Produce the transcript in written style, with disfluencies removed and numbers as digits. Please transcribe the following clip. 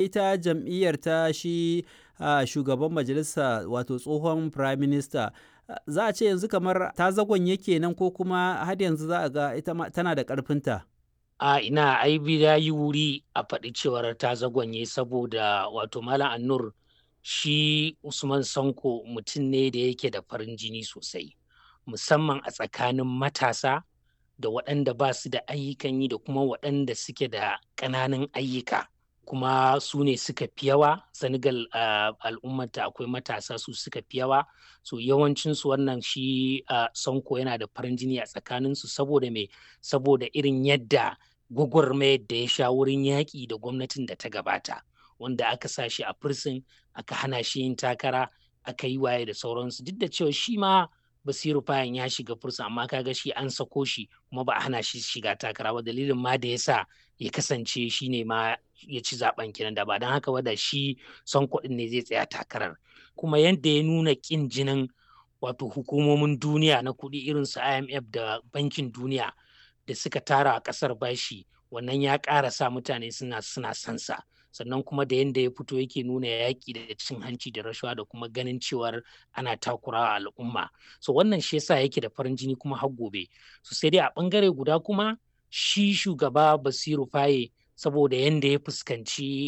Ita jam'iyyar ta shi shugaban majalisa, wato tsohon prime minister, za a ce yanzu kamar ta zagonye kenan, ko kuma har yanzu za a ga ita ma tana da ƙarfinta? A ina, ai ya yi wuri a faɗi cewar ta zagonye, saboda wato Malam Annur, shi Usman Sanko mutum ne da yake da farin jini sosai, musamman a tsakanin matasa da waɗanda ba su da ayyukan yi da kuma waɗanda suke da ƙananan ayyuka. Kuma su ne suka fi yawa Senegal, al'ummata akwai matasa su suka fi yawa. So yawancinsu wannan shi Sonko yana da farin jini a tsakaninsu. Saboda me? Saboda irin yadda gwagwarmayar da ya sha wurin yaƙi da gwamnatin da ta gabata, wanda aka sa shi a prison, aka hana shi yin takara, aka yi waye da sauransu. Duk da cewa shi ma Basiru Fayan ya shiga prison, amma kaga shi an sako shi kuma ba a hana shi shiga takara ba. Dalilin ma da yasa ya kasance shi ne ma ya ci zaben kenan. Da ba don haka ba, da shi Sonko din ne zai tsaya takarar. Kuma yadda ya nuna kin jinin wato hukumomin duniya na kuɗi irin su IMF da Bankin Duniya da suka tara a ƙasar bashi, wannan ya ƙara sa mutane suna sansa. Sannan kuma da yadda ya fito yake nuna yaƙi da cin hanci da rashawa da kuma ganin cewar ana takurawa al'umma. So wannan shi yasa yake da farin jini kuma har gobe. So sai dai a ɓangare guda kuma shi shugaba Basiru Faye, saboda yadda ya fuskanci